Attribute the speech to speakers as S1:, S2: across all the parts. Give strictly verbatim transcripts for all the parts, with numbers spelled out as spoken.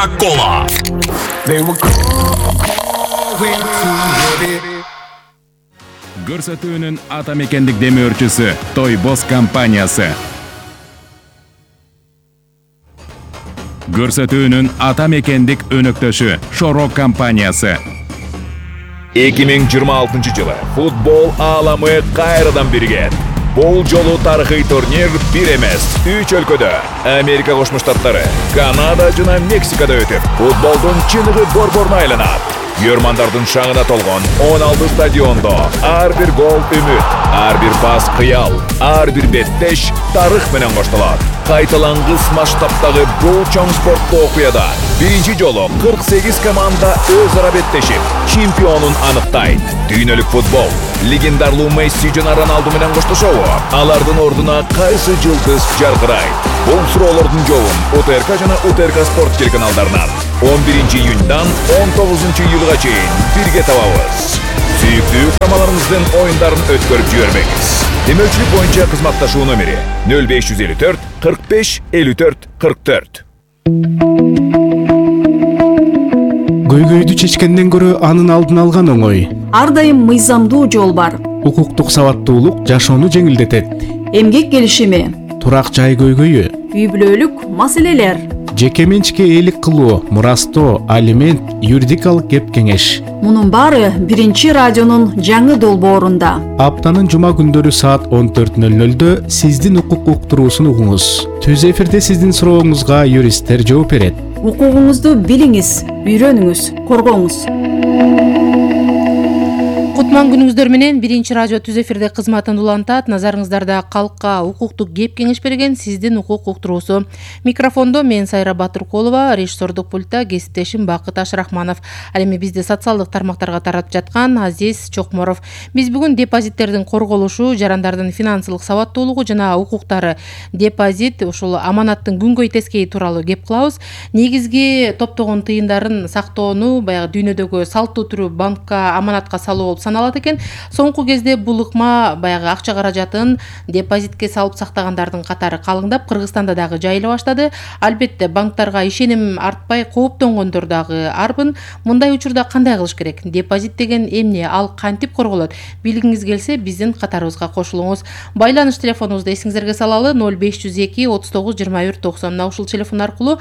S1: Coca-Cola. Көрсөтүүнүн ата мекендик демөөрчүсү Тойбос компаниясы. Көрсөтүүнүн ата мекендик өнөктөшү Шорок компаниясы.
S2: эки миң жыйырма алтынчы жылы футбол ааламы кайрадан бирген. Бул жолу тарыхый турнир бир эмес, үч өлкөдө, Америка Кошмо Штаттары, Канада жана Мексикада өтүп, футболдун чыныгы борборуна айланат. Көрмандардын шаңына толгон он алты стадиондо ар бир гол үмүт, ар бир пас кыял, ар бир беттеш тарых менен коштолот. Кайталангыс масштабтагы бул чоң спорттуу окуяда биринчи жолу кырк сегиз команда өз ара беттешип, чемпионун аныктайт. Дүйнөлүк футбол легендарлуу Месси жана Роналду менен коштошобу? Алардын ордуна кайсы жылдыз жаркырайт? Бул суроолордун жообун УТРК жана УТРК спорт телеканалдарынан он биринчи июньдан он тогузунчу июлга чейин бирге табабыз. Сүйүктүү камаларыңыздын оюндарын өткөрүп жибербеңиз. Демөөрчүлүк боюнча кызматташуу номери нөл беш жүз элүү төрт кырк беш элүү төрт кырк төрт.
S3: Көйгөйдү чечкенден көрө анын алдын алган оңой.
S4: Ар дайым мыйзамдуу жол бар.
S3: Укуктук сабаттуулук жашоону жеңилдетет.
S4: Эмгек келишими,
S3: турак жай көйгөйү,
S4: үй бүлөлүк маселелер,
S3: жеке менчикке ээлик кылуу, мурастоо, алимент, юридикалык кеп кеңеш.
S4: Мунун баары биринчи радионун жаңы долбоорунда.
S3: Аптанын жума күндөрү саат он төрт нөл нөлдө сиздин укук уктуруусун угуңуз. Түз эфирде сиздин сурооңузга юристтер жооп берет.
S4: Укугуңузду билиңиз, үйрөнүңүз, коргоңуз.
S5: Кутман күнүңүздөр менен биринчи радио түз эфирде кызматын улантат. Назарыңыздарда калкка укуктук кеп кеңеш берген сиздин укук уктуруусу. Микрофондо мен Сайра Батыркулова, режиссердук пультта кесиптешим Бакыт Ашрахманов. Ал эми бизди социалдык тармактарга таратып жаткан Азиз Чокморов. Биз бүгүн депозиттердин корголушу, жарандардын финансылык сабаттуулугу жана укуктары, депозит, ушул аманаттын күнгөй тескейи тууралуу кеп кылабыз. Негизги топтогон тыйындарын сактоону баягы дүйнөдөгү салттуу түрү банкка аманатка салуу болуп саналат экен. Соңку кезде бул ыкма баягы акча каражатын депозитке салып сактагандардын катары калыңдап, Кыргызстанда дагы жайыла баштады. Албетте банктарга ишеним артпай кооптонгондор дагы арбын. Мындай учурда кандай кылыш керек? Депозит деген эмне? Ал кантип корголот? Билгиңиз келсе, биздин катарыбызга кошулуңуз. Байланыш телефонубузду эсиңиздерге салалы нөл беш жүз эки отуз тогуз жыйырма бир токсон. Мына ушул телефон аркылуу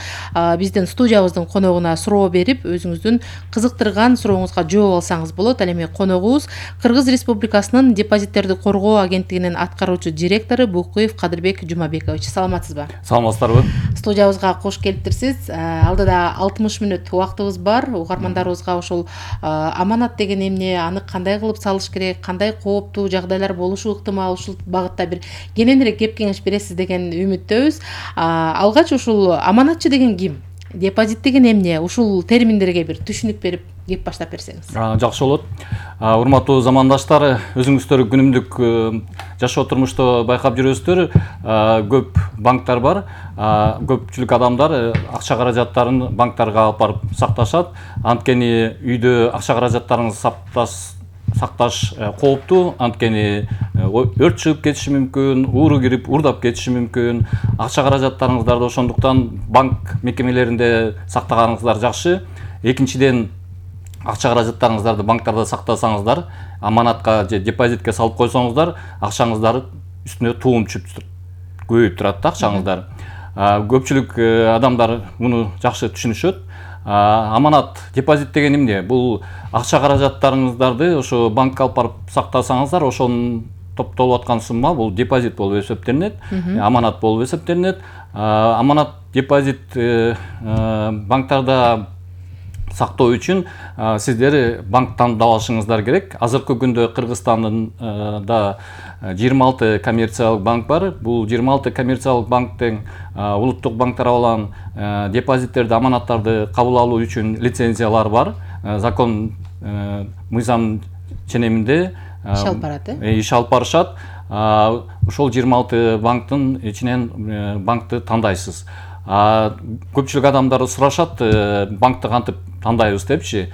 S5: биздин студиябыздын коногуна суроо берип, өзүңүздүн кызыктырган сурооңузга жооп алсаңыз болот. Ал эми коногубуз Кыргыз Республикасынын депозиттерди коргоо агенттигинин аткаруучу директору Букуев Кадырбек Жумабекович. Саламатсызбы?
S6: Саламатсыздарбы?
S5: Студиябызга кош келиптирсиз. Алдыда алтымыш мүнөт убактыбыз бар. Угармандарыбызга ушул аманат деген эмне, аны кандай кылып салыш керек, кандай кооптуу жагдайлар болушу ыктымал, ушул багытта бир кененирээк кеп кеңеш бересиз деген үмүттөбүз. Алгач ушул аманатчы деген ким? Депозит деген эмне? Ушул терминдерге бир түшүнүк берип кеп баштап берсеңиз.
S6: Жакшы болот. Урматтуу замандаштар, өзүңүздөр күнүмдүк жашоо турмушта байкап жүрөсүздөр, көп банктар бар. Көпчүлүк адамдар акча каражаттарын банктарга алып барып сакташат. Анткени үйдө акча каражаттарын сакташ сакташ кооптуу, анткени өрт чыгып кетиши мүмкүн, ууру кирип уурдап кетиши мүмкүн. Акча каражаттарыңыздарды ошондуктан банк мекемелеринде сактаганыңыздар жакшы. Экинчиден, акча каражаттарыңыздарды банктарда сактасаңыздар, аманатка же депозитке салып койсоңуздар, акчаңыздар үстүнө туум чүп көбөйүп турат да акчаңыздар. Көпчүлүк адамдар муну жакшы түшүнүшөт. Аманат, депозит деген эмне? Бул акча каражаттарыңыздарды ошо банкка алып барып сактасаңыздар, ошонун топтолуп аткан сумма бул депозит болуп эсептелинет, аманат болуп эсептелинет. Аманат, депозит банктарда сактоо үчүн сиздер банк тандап алышыңыздар керек. Азыркы күндө Кыргызстанда жыйырма алты коммерциялык банк бар. Бул жыйырма алты коммерциялык банктын улуттук банктар алган депозиттерди, аманаттарды кабыл алуу үчүн лицензиялар бар. Закон мыйзам ченеминде иш алып барат, э? Иш алып барышат. Ошол жыйырма алты банктын ичинен банкты тандайсыз. Көпчүлүк адамдар сурашат, банкты кантип тандайбыз депчи.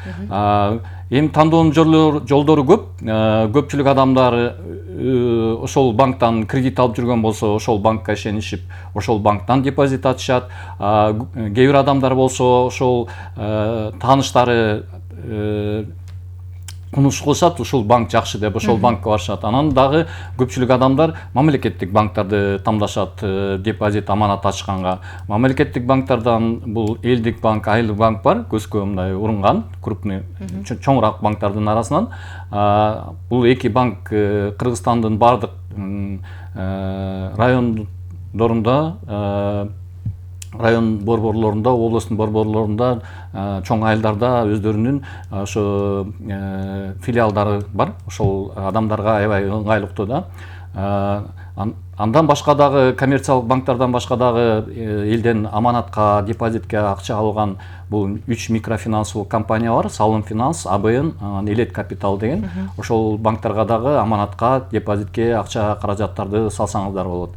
S6: Эми тандоонун жолдору көп. Көпчүлүк адамдар ошол банктан кредит алып жүргөн болсо, ошол банкка ишенишип, ошол банктан депозит ачышат. Кээ бир адамдар болсо, ошол тааныштары кунуш кылышат, ушул банк жакшы деп ошол банкка барышат. Анан дагы көпчүлүк адамдар мамлекеттик банктарды тандашат депозит, аманат ачканга. Мамлекеттик банктардан бул Элдик банк, Айыл банк бар, көзгө мындай урунган, крупный, чоңураак банктардын арасынан. Бул эки банк Кыргызстандын бардык райондорунда, район борборлорунда, областын борборлорунда, чоң айылдарда өздөрүнүн ошо филиалдары бар. Ошол адамдарга аябай ыңгайлыктуу да. Андан башка дагы коммерциялык банктардан башка дагы элден аманатка, депозитке акча алган бул үч микрофинансылык компания бар. Салым финанс, А Б Н, Элет капитал деген. Ошол банктарга дагы аманатка, депозитке акча каражаттарды салсаңыздар болот.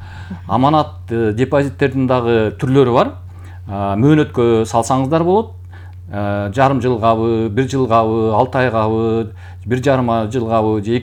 S6: Аманат депозиттердин дагы түрлөрү бар. Мөөнөткө салсаңыздар болот. Жарым жылгабы, бир жылгабы, алты айгабы, бир жарым жылгабы же